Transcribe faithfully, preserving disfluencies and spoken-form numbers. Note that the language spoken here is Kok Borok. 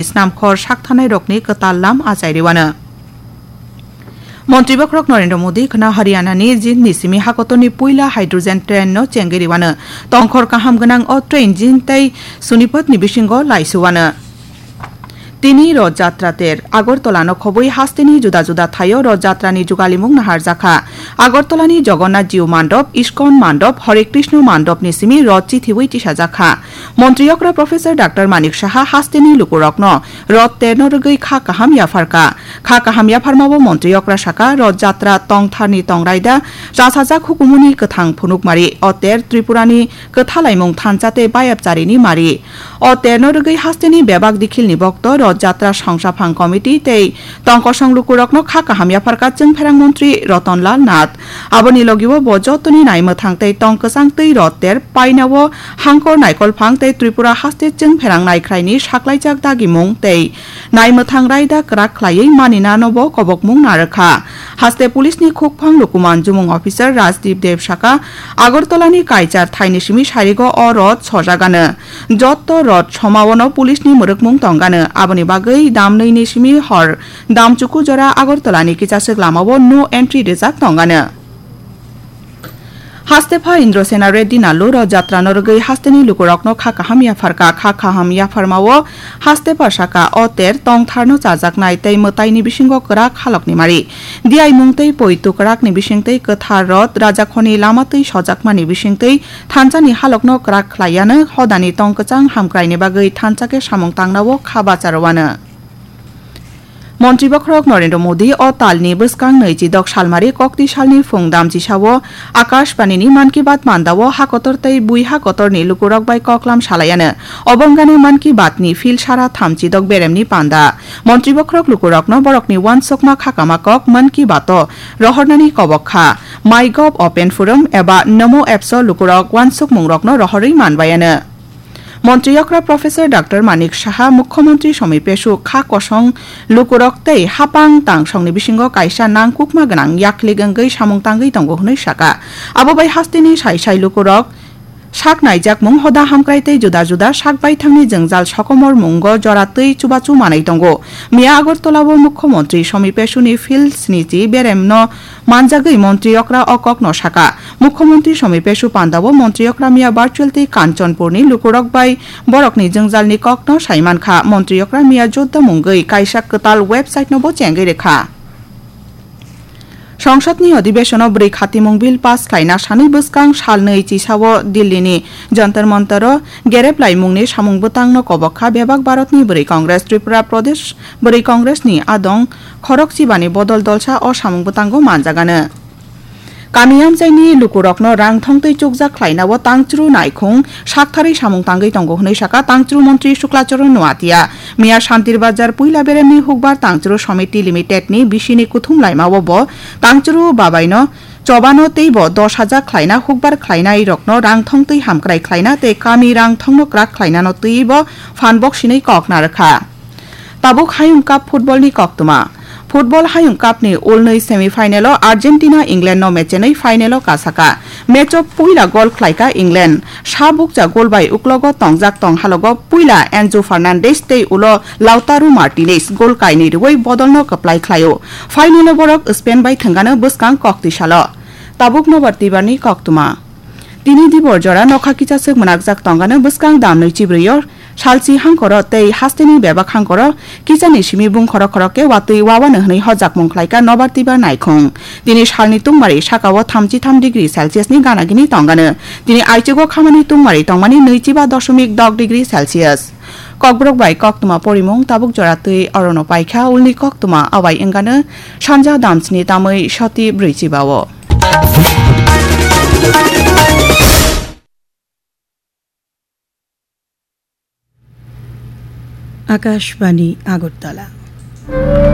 snamkhor saktharnairokni kwtal lam achai rwano. Montri bokhorok Narendra Modi khwna Haryanani Jindni simi hakotorni puila hydrogen train no chengwi rwano. Tongkhor kaham gwnang o train Jind tei Sonipat ni bisingo laisuwano. Tini Roth Jatra ter Agartala no khobwi hasteni juda juda thaio Roth Jatra ni jugalimung naharjakha. Agartala ni Jagannath Jiu Mandop, Iskon Mandop, Hare Krishna Mandop ni simi Roth chithiwi tisajakha. Montri okra Professor Doctor Manik Saha hasteni lukurokno Roth terno rwgwi kha kaham yapharkha. Kha kaham yapharmao Montri okra saka, Roth Jatra tongtharni tongraida chasajak hukumuni kwthang phunukmari. O ter Tripurani kwthalaimung thansa tei bayapcharini mari. O terno rwgwi hasteni bebak dikhilni bokto Roth Jatra songsaphang committee tei tongkosong lukurokno kha kaham yapharkha Chwngpherang Montri Roton Lal Nath. Aboni logiwo bo jotoni naimwthang tei tong kwchang twi Roth ter painao hangkor naikolphang tei Tripura haste chwngpherang naikhraini saklaijak dagimung tei naimwthang raida kwrak khlaiwi maninanobo kobokmung narwkha. Haste police ni khukphang lukuman jumung officer Rajdeep Deb saka, Agartala ni kaichar thaini simi sarigo o Roth sojagano. Jotto Roth somaono police ni mwrwkmung tongano. Aboni bagwi damnwi ni simi hor damchuku jora Agartala ni kichaswk lamao no entry rijak tongano. Hastepha Indrasena Reddy Nallu Roth Jatra no rwgwi hasteni lukurokno kha kaham yapharkha. Kha kaham yapharmao Hastepha saka, o ter tongtharno chajaknai tei mwtaini bisingo kwrak halokni mari. Diaimung tei poitu kwrakni bisingtwi kwthar Roth rajakhorni lama twi sojakmani bisingtwi thansani halokno kwrak khlaiano hodani tong kwchang hamkraini bagwi thansa khe samung tangnao kha bacharwano. Montri bokhorok Narendra Modi o talni bwskang nwi chidok salmari kokti salni phung damchisao Akashbani ni Mann Ki Baat mandao hakotor tei bui hakotorni lukurok bai koklam salaiano. Obo wngano Mann Ki Baat ni phil sara thamchi dok beremni panda. Montri bokhorok lukurokno borokni uansukma khakama kok Mann Ki Baat o rohornani kobok kha. MyGov Open Forum eba Namo Apps o lukurok uansukmungrokno rohorwi manbaiano. Montri okra Professor Doctor Manik Saha, Mukhyamantri Somi Pesu, kha kosong lukurok tei hapang tangsongni bisingo kaisa nangkukma gwnang yaklik wngwi samung tangwi tongo hwnwi saka. Abo bai hasteni sai sai lukurok sak naijakmung, hoda hamkrai tei juda juda sak baithangni jwngjal sokomor mungo jora twi chubachu manwi tongo. Miya Agartala o Mukhyamantri Somi Pesuni phil snichi beremno manjagwi montri okra o kokno saka. Mukhyamantri Somi Pesu pandao montri okra miya virtual tei Kanchanpurni lukurok bai borokni jwngjalni kokno saimankha. Montri okra miya jodda mungwi kaisa kwtal website nobo chengwi rwkha. Songsadni odhibesono bwrwi khatimung bill pass khlaina sanwi bwskang salnwi chisao Dillini Jantar Mantaro gerep laimungni samung bwtangno kobok kha bebak Bharatni Bwrwi Congress, Tripura Pradesh Bwrwi Congressni adong khorok chibani bodol dolsa o samung bwtango manjagano. Kami amchaini lukurokno rang thongtwi chukjak khlainao tangchru naikhung saktharwi samung tangwi tongo hwnwi saka tangchru montri Suklacharan Noatia. Miya Shantir Bazar puila beremni hukbar tangchru Samiti Limited ni bisini kuthum laimao bo tangchru babaino chobano teibo dos hajar khlaina hukbar khlainairokno rang thongtwi hamkrai khlaina tei kami rang thongno kwrak khlainano twibo phan boksinwi kok narwkha. Tabuk Hayung Cup football ni koktwma. Football Hayung Cup ni ulnwi semi final o Argentina England no mechenwi final o kasaka. Match o puila gol khlaika England. Sa bukcha gol bai uklogo tongjak tong halogo puila Enzo Fernandez tei ulo Lautaro Martinez gol kainwi rwui bodolno kwplai khlaio. Final o borok Spain bai thwngano bwskang koktwi salo. Tabuk nobar twibarni koktwma. Tini dibor jora nokha kichaswk mwnakjak tongano bwskang damnwi chibrwi o salchi hangkoro tei hasteni bebak hangkoro kichani simi bung khorok khorok khe watwi wawano hwnwi hojakmung khlaika nobar twibar naikhung. Tini salni tungmari sakao thamchi tham degree Celsius ni gana gini tongano. Tini aichugo khamani tungmari tongmani nwichiba dosomik dok degree Celsius. Kokborok bai koktwma porimung tabuk jora twi orono paikha, ulni koktwma abai wngano sanja damsni tamwi soti brwichiba o. Akashbani Agartala.